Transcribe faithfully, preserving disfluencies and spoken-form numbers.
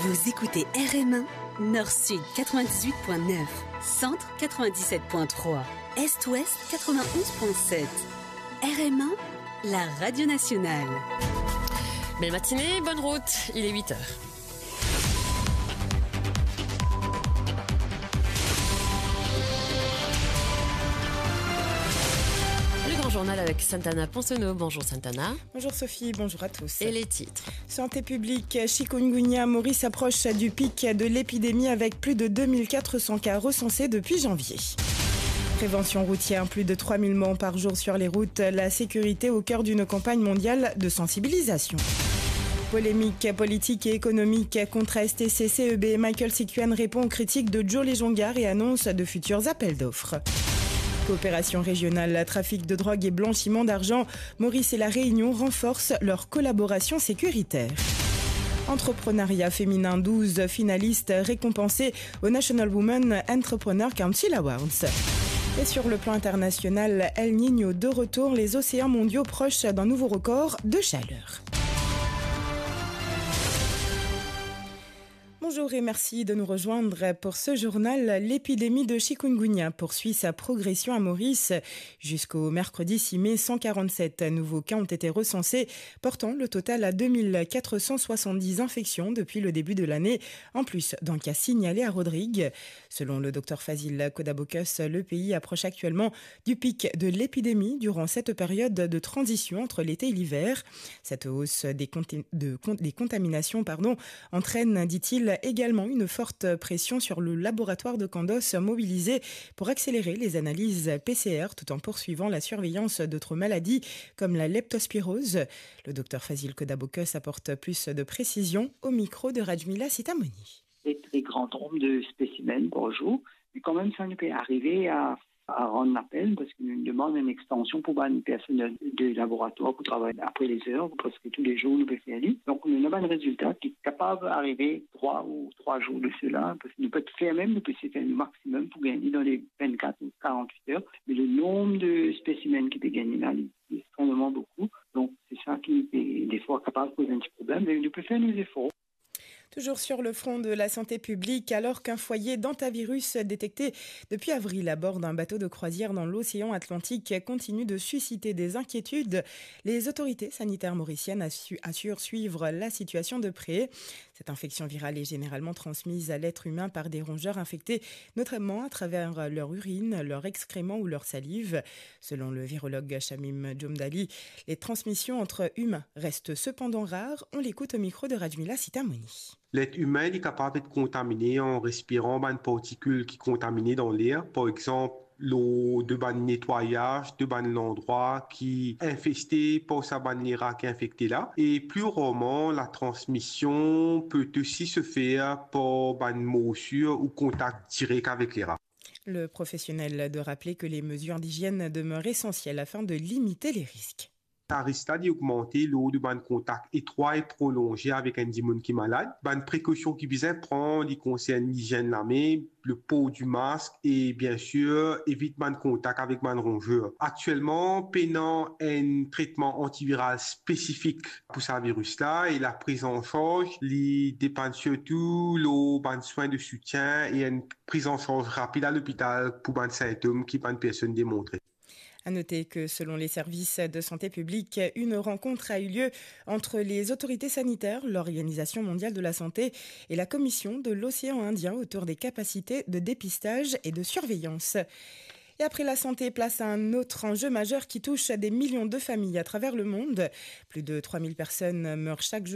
Vous écoutez R M un, Nord-Sud quatre-vingt-dix-huit point neuf, Centre quatre-vingt-dix-sept point trois, Est-Ouest quatre-vingt-onze point sept. R M un, la radio nationale. Belle matinée, bonne route, il est huit heures. Le grand journal avec Santana Ponsonneau. Bonjour Santana. Bonjour Sophie, bonjour à tous. Et les titres ? Santé publique, chikungunya, Maurice s'approche du pic de l'épidémie avec plus de deux mille quatre cents cas recensés depuis janvier. Prévention routière, plus de trois mille morts par jour sur les routes, la sécurité au cœur d'une campagne mondiale de sensibilisation. Polémique politique et économique, contraste C C E B, Michael Sikuen répond aux critiques de Joe Lejongar et annonce de futurs appels d'offres. Coopération régionale, trafic de drogue et blanchiment d'argent, Maurice et La Réunion renforcent leur collaboration sécuritaire. Entrepreneuriat féminin, douze finalistes récompensés au National Women Entrepreneur Council Awards. Et sur le plan international, El Niño de retour, les océans mondiaux proches d'un nouveau record de chaleur. Bonjour et merci de nous rejoindre pour ce journal. L'épidémie de chikungunya poursuit sa progression à Maurice. Jusqu'au mercredi six mai, cent quarante-sept nouveaux cas ont été recensés, portant le total à deux mille quatre cent soixante-dix infections depuis le début de l'année, en plus d'un cas signalé à Rodrigues. Selon le docteur Fazil Kodabokus, le pays approche actuellement du pic de l'épidémie durant cette période de transition entre l'été et l'hiver. Cette hausse des conti-, de con-, des contaminations, pardon, entraîne, dit-il, également une forte pression sur le laboratoire de Kandos mobilisé pour accélérer les analyses P C R tout en poursuivant la surveillance d'autres maladies comme la leptospirose. Le docteur Fazil Kodabokus apporte plus de précisions au micro de Rajmila Sitamoni. Très, très grand nombre de spécimens par jour, mais quand même ça nous peut arriver à, à rendre appel parce que nous demandons une extension pour une personne de laboratoire pour travailler après les heures, parce que tous les jours nous peut faire lui. Donc nous avons un résultat qui est capable d'arriver trois ou trois jours de cela, parce que nous peut faire même, nous peut faire le maximum pour gagner dans les vingt-quatre ou quarante-huit heures, mais le nombre de spécimens qui peut gagner là, il est extrêmement beaucoup. Donc c'est ça qui est des fois capable de poser un petit problème, mais nous peut faire nos efforts. Toujours sur le front de la santé publique, alors qu'un foyer d'hantavirus détecté depuis avril à bord d'un bateau de croisière dans l'océan Atlantique continue de susciter des inquiétudes, les autorités sanitaires mauriciennes assu-, assurent suivre la situation de près. Cette infection virale est généralement transmise à l'être humain par des rongeurs infectés, notamment à travers leur urine, leur excrément ou leur salive. Selon le virologue Shamim Djomdali, les transmissions entre humains restent cependant rares. On l'écoute au micro de Rajmila Sitamoni. Let imin, li kapav et kontamine an respiran bann partikil ki kontamine dan ler, par exanp, lor de bann netwayaz de bann landrwa ki infeste par sa bann lera ki infekte la. E pli rarman, la transmision peut aussi se faire par bann morsir ou kontak direk avek lera. Le professionnel de rappeler que les mesures d'hygiène demeurent essentielles afin de limiter les risques. Sa risk la, li ogmante lor de bann kontak etrwa e prolonze avek enn dimoun ki malad. Bann prekosion ki bizin pran, li konsern lizienn lame, le por di mask e, bien sir, evit bann kontak avek bann ronzer. Aktielman, pena enn tretman antiviral spesifik pou sa viris la, e la priz an sarz, li depann sirtou lor bann swin de soutien e enn priz an sarz rapid a lopital pou bann sintom ki bann personn demontre. À noter que, selon les services de santé publique, une rencontre a eu lieu entre les autorités sanitaires, l'Organisation mondiale de la santé et la Commission de l'océan Indien autour des capacités de dépistage et de surveillance. Et après la santé, place à un autre enjeu majeur qui touche des millions de familles à travers le monde. Plus de trois mille personnes meurent chaque jour